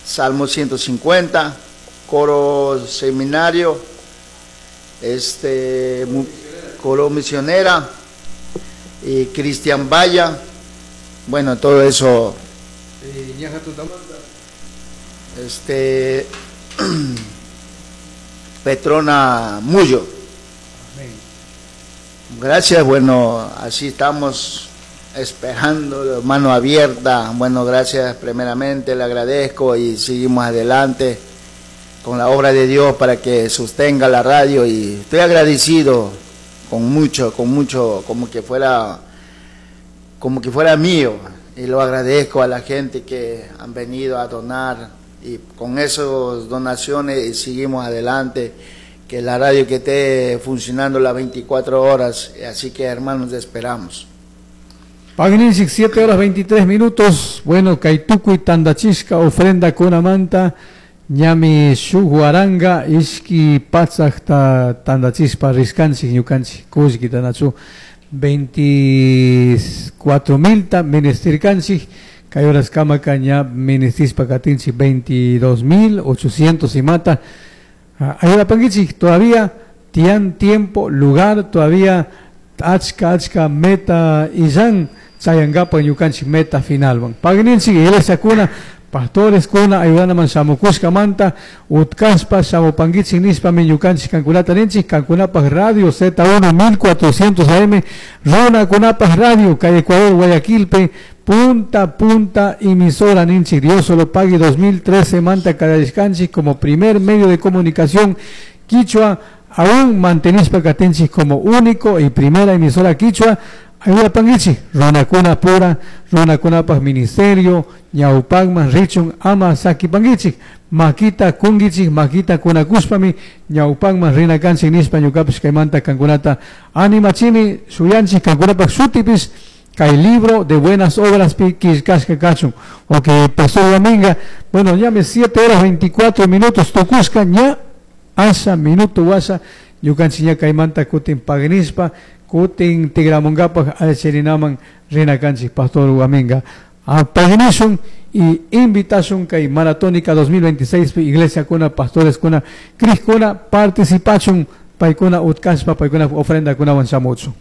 Salmo 150, coro seminario, coro misionera y Cristian Valla. Bueno, todo eso. Petrona Mullo. Gracias, bueno, así estamos esperando, mano abierta. Bueno, gracias primeramente, le agradezco y seguimos adelante con la obra de Dios para que sostenga la radio, y estoy agradecido con mucho, con mucho, como que fuera mío, y lo agradezco a la gente que han venido a donar, y con esas donaciones seguimos adelante, que la radio que esté funcionando las 24 horas, así que hermanos, esperamos. Pagninchik 7 horas 23 minutos, bueno, kay tukuy tandachishka ofrenda kunamanta, ñami shuk waranga ishki patsakta tandachishpa rishkanchik ñukanchik kullkita nachu 24 mil ministirkanchik, kay horas kamaka ña ministishpa katinchik 22.800 imata. Ayudapankichik todavía tian tiempo, lugar, todavía achka achka meta illan chayankapak ñukanchik meta final. Pagninchik iglesia kuna, pastores kuna ayudanaman shamukushkamanta utkashpa shamupankichik nishpami ñukanchik kankunata ninchik, kankunapaj radio Z1 1400 AM, runakunapaj radio, kay Ecuador, Guayaquilpe, punta punta emisora ninchik, Dios solo pague 2013 manta kallarishkanchik como primer medio de comunicación quichua, aún mantenishpa katinchik como único y primera emisora quichua. Ayudapankichik, runakuna pura, runakunapaj ministerio, ñawpakman richun ama sakipankichik, makita kunkichik, makita kunakushpami ñawpakman rina kanchik nishpa ñukapish kaymanta kankunata animachini, shuyanchik kankunapaj shutipish kay libro de buenas obras pi killkashka kachun. Ok, Pastor Dominga, bueno, ya me 7 horas 24 minutos tukushka, ña asha minuto washa ñukanchik ña kaymanta kutin paginishpa kutin tigramunkapaj alcherinaman rina kanchik, Pastor Guaminga. Paginishun y invitashun kay Maratónica 2026 pi iglesia kuna, pastores kuna, kuna participachun, paykuna utkashpa, paykuna ofrenda kunawan shamuchun.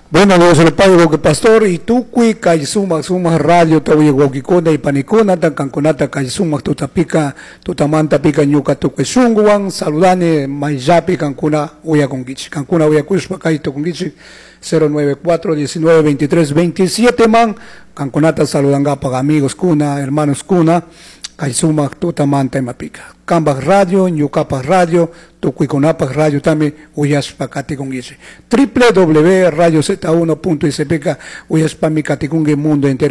Bueno, Dios le pague que pastor y tukuy kay sumak sumak radio tawi wawkikuna y panikuna tan kankunata kay sumak tutapika tutamanta pika ñuka tukuy shunguwan saludani mayllapi kankuna uyakunkichik, kankuna uyakushpa kay tukunkichik 094 19 23 27 man kankunata saludangapak amigos kuna, hermanos kuna kay sumak tutamanta imapika kambaj radio, ñukapaj radio, tukuykunapaj radio también uyashpa katikunkichik. www radio z uno punto s p k uyashpami katikunki mundo entero.